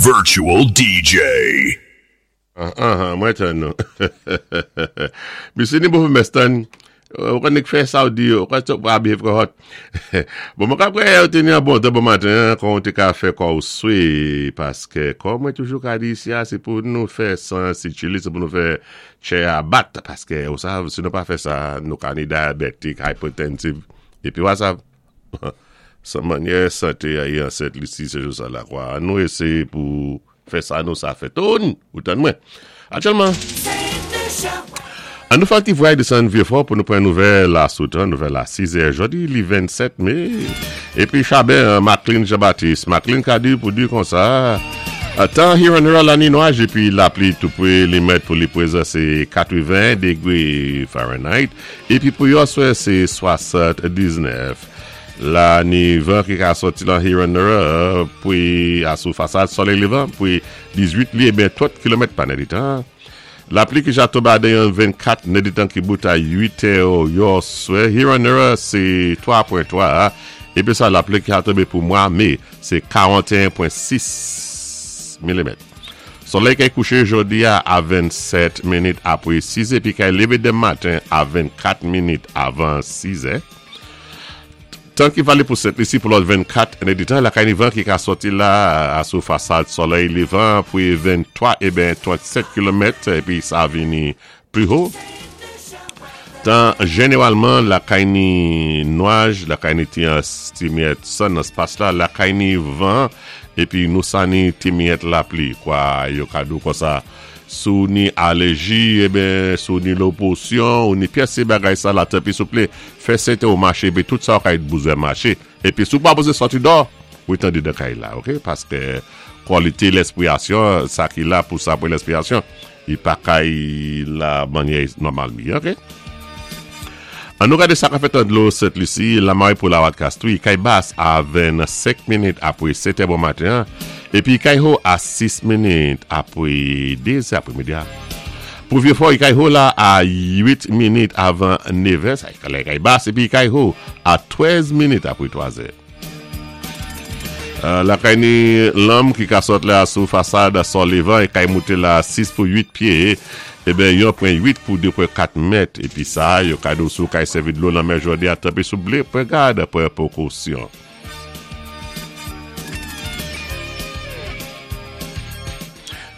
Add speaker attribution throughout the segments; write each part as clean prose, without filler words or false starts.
Speaker 1: Virtual DJ.
Speaker 2: Anhan, mwen tann nou. Misye ni bon mès tann. Ou konn k fè sa ou di yo. Ou konn sa ou abiye frè hot. Bon mwen ka kwè ou te ni an bon tan bon maten an kon ou te ka fè kò ou swe paske kò mwen toujou ka di isi a se pou nou fè san sikile se pou nou fè tchè a bat paske ou sav si nou pa fè sa nou ka ni diabetic, hypertensive epi wa sav. San manyè sante a ye an Sent Lisi se jou sa lakwa. An nou eseye pou fè sa nou sa fè. Toon! Ou tann mwen. Aktyèlman, an nou fè yon ti vwayaj desann Vyefò pou nou pran nouvèl a sou tan, nouvèl a 6 è. Jodi li 27 me. Epi Chaben an, Macklin Jean Baptiste. Macklin ka di pou di konsa, tan Hiranera la ni nwaj epi lapli tou pre li mèt pou li prezan se 81 degre Fahrenheit. Epi pou yon swè se 79. La ni van ki ka sòti lan Hiranera pwi a sou fasad solèy levan pwi 18 li eben 30 kilomèt pa nèditan. Lapli ki ja tonbe adan yon 24 nèditan ki bout a 8 è yon swè Hiranera se 3.3 epi sa lapli ki a tonbe pou mwa me se 41.6 milimèt. Solèy kay kouché jodi a a 27 minit apwé 6 épi kay lévé denm maten a 24 minit avan 6 è. Tan ki vale pou Sent Lisi pou lòt 24 ènèditan lakay ni van ki ka sòti la a sou fasad solèy levan pwi 23 eben 37 kilomèt epi sa vini pli ho. Tan jeneralman lakay ni nwaj, lakay ni ti ti miyèt san nan spas la, lakay ni van, epi nou sa ni ti miyèt lapli. Kwa yo ka di w konsa, si w ni alèji, eben, si w ni lo posyon, ou ni pyès ti bagay sa la, tanpri souple, fè sèten ou mache epi tout sa w ka bouzen mache. Epi si w pa bouzen sòti dò, wi tande dan kay la, ok, paske kwalite lèspirasyon, sa ki la pou sa pou lèspirasyon. Li pa kay la manyè nòmal mi ok. An nou gade sa ka fèt an dlo Sent Lisi, Lamare pou Lawat Kastri, kay bas a 25 minit apre 7 è bon maten an, epi kay ho a 6 minit apre 2 zè apre midi a. Pou Vyefò, kay ho la a 8 minit avan 9 è, sa kay bas, epi kay ho a 13 minit apre 3 zè. Lakay ni lanm ki ka sot la sou fasad sò levan e kay moute la 6 pou 8 pye eben yon pwen 8 pou 2 pwen 4 mèt epi sa yo ka do sou kay sèvi dlo lanmè jodi a tanpe sou ble pwen gad pwen pokosyon.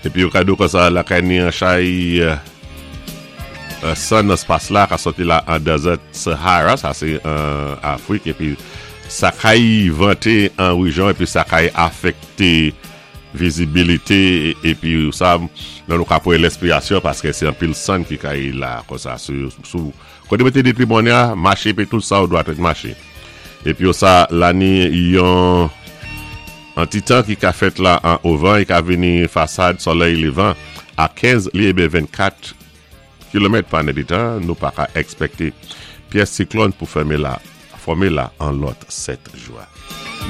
Speaker 2: Epi yo ka do konsa lakay ni an chay san nan spas la ka soti la an Desert Sahara sa se an Afrik epi sa kay vante an rejyon epi sa kay afekte vizibilite epi sa nan nou ka pran lespirasyon paske se anpil sann ki kay la konsa sou kote mete depi bonè a mache epi tout sa ou dwa tèt mache epi yo sa la ni yon An ti tan ki ka fèt la an ovan e ka vini fasad solèy levan a 15 li eben 24 kilomèt pa nèdetan nou pa ka ekspekte pyès siklòn pou fème la fòme la an lòt 7 jou a.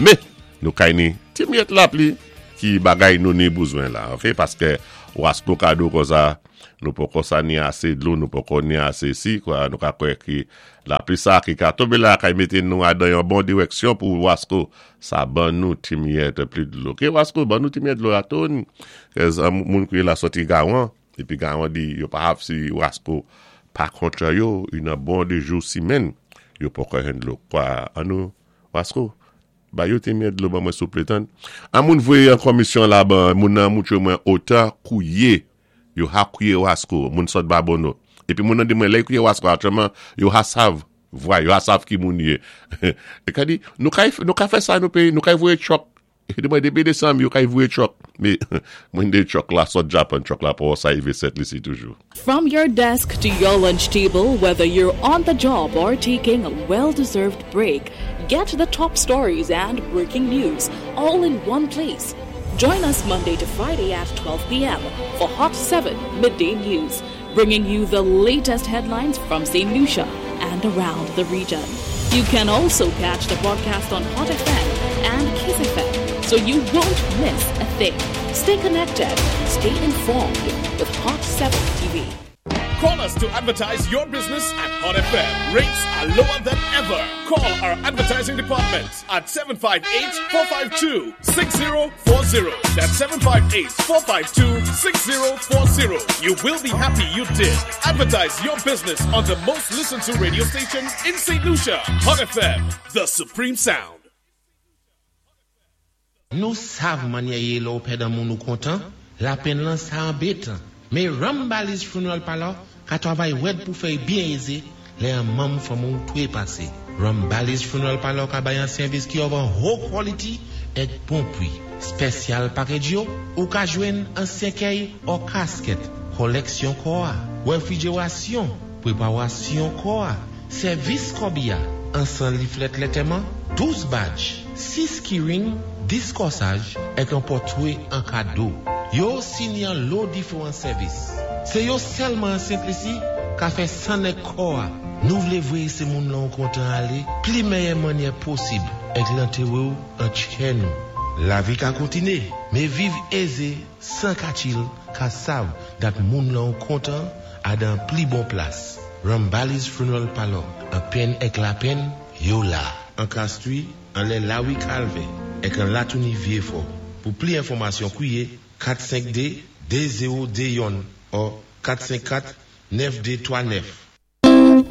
Speaker 2: Men nou kay ni ti myèt lapli ki bagay nou ni bouzwen la ok paske wasko kado konsa nou poko sa ni ase dlo nou poko ni ase si kwa nou ka kwè ki lapli sa ki ka tonbe la kay mete nou adan yon bon direksyon pou wasko Sa ban nou ti miyèt pli dlo. Ke wasko ban nou ti miyèt dlo la toun. Kèz an moun kouye la soti gawan. Epi gawan di yo pa hav si wasko pa kontra yo. Yon nan bon de jou simenn. Yo poko jwenn dlo. Kwa an nou wasko. Ba yo ti miyèt dlo ban mwen souple tann. An moun voye an komisyon la ban moun nan moutre mwen otan kouye. Yo ha kouye wasko. Moun sot babono. Epi moun nan di mwen lè yo kouye wasko aktyèlman yo ha sav. Vwa yo a sav ki moun ye. E ka di, nou kay, nou ka fè sa nou peyi, nou kay voye truck. E di mwen depi desanm yo kay voye truck. Me, mwen de truck la sot Japan, truck la pou sa rive Sent Lisi toujou.
Speaker 3: From your desk to your lunch table, whether you're on the job or taking a well-deserved break, get the top stories and breaking news all in one place. Join us Monday to Friday at 12 p.m. for Hot 7 Midday News, bringing you the latest headlines from St. Lucia and around the region. You can also catch the broadcast on Hot FM and Kiss FM, so you won't miss a thing. Stay connected, stay informed with Hot 7 TV.
Speaker 1: Call us to advertise your business at Hot FM. Rates are lower than ever. Call our advertising department at 758-452-6040. That's 758-452-6040. You will be happy you did. Advertise your business on the most listened to radio station in St. Lucia. Hot FM, the supreme sound.
Speaker 4: Nou sav mannyè yé lè-w pèd an moun ou kontan, lapenn lan sa anbétan. Mé Rambali's Funeral Parlor ka twavay wèd pou fè-y byen ézé lè an manm fanmi-w twé pasé. Rambali's Funeral Parlor ka bay an sèvis ki of an ho quality èk bon pwi. Special package yo, ou ka jwenn an sèkèy or casket, kòlèksyon kò-a, wèfwijérasyon, pwépawasyon kò-a, sèvis kòbiya, ansan leaflet lantèman, 12 badge, 6 keyring, 10 kòsaj, èk an pòtwé an kado. Yo sini an lo diféwan sèvis. Sé yo sèlman an Sent Lisi ka fè sann èk kò-a. Nou vlé vwéyé sé moun lan ou kontan alé pli mèyè mannyè posib èk lantéwé-w an tchè nou. Lavi ka kontiné, mé viv ézé san katchil ka sav dat moun lan ou kontan a dan pli bon plas. Rambali's Funeral Parlor, an penn èk lapenn, yo la. An Castries, anlè Lawi Kalvè, èk an Latouni Vyéfò. Pou pli enfòmasyon kwiyé 452 2021 or 454 9239.